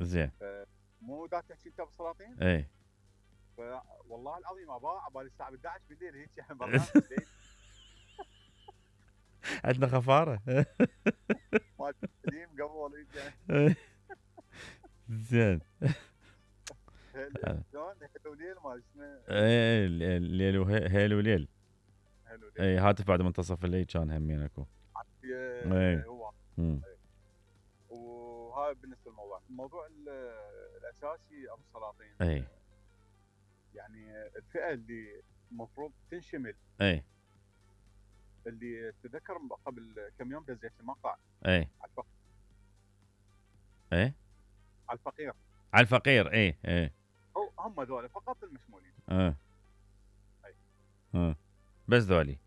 زين. مو دا تحكي انت بالسلاطين؟ اي. والله العظيم ابا عبالي الساعه 11 بالليل هيك يعني برنامج ليل. عندنا خفاره. مال قديم قبل إيه. زين. شلون هيل وليل ما اسمه. ايه الليل هيل وليل. هيل وليل. اي هاتف بعد منتصف الليل كان همين اكو. اي هو. وهاي بالنسبه للموضوع، الموضوع الاساسي ابو السلاطين. اي. يعني الفئه اللي المفروض تنشمل. اي. اللي تذكر قبل كم يوم دزيت المقطع. اي. على الفقير. اي. على الفقير. على الفقير. اي. هم ذولا فقط المشمولين. بس ذولي.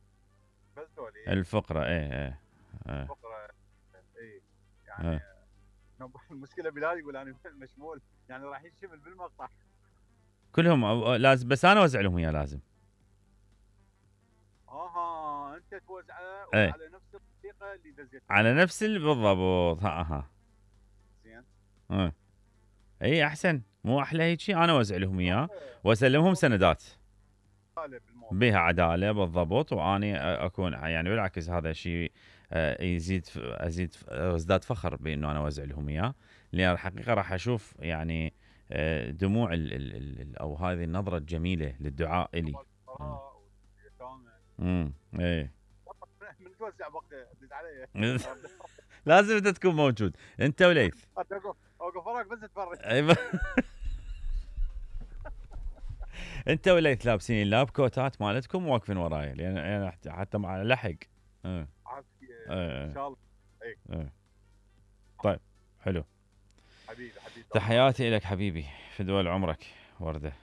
بس ذولي. الفقراء. اي. الفقراء. اي يعني. المشكله بلال يقول انا مشمول، يعني راح ينشمل بالمقطع كلهم لازم، بس انا اوزع لهم اياه لازم. انت توزعه على نفس الطريقه اللي دزيتها على نفس بالضبط. زين. اي احسن، مو احلى هيك شيء. انا اوزع لهم اياه واسلمهم سندات بها عداله بالضبط، واني اكون يعني بالعكس هذا شيء ازداد فخر بانه انا اوزع لهم اياه، لان الحقيقه راح اشوف يعني دموع او هذه النظره الجميله للدعاء الي. ايه. من توزع بقى دز علي. لازم انت تكون موجود انت وليث. اوقف وراك بس اتفرج. انت وليث لابسين اللاب كوتات مالتكم واقفين وراي، لان حتى مع لحق. ان شاء الله. طيب حلو. حبيبي تحياتي لك حبيبي، فدوى عمرك ورده.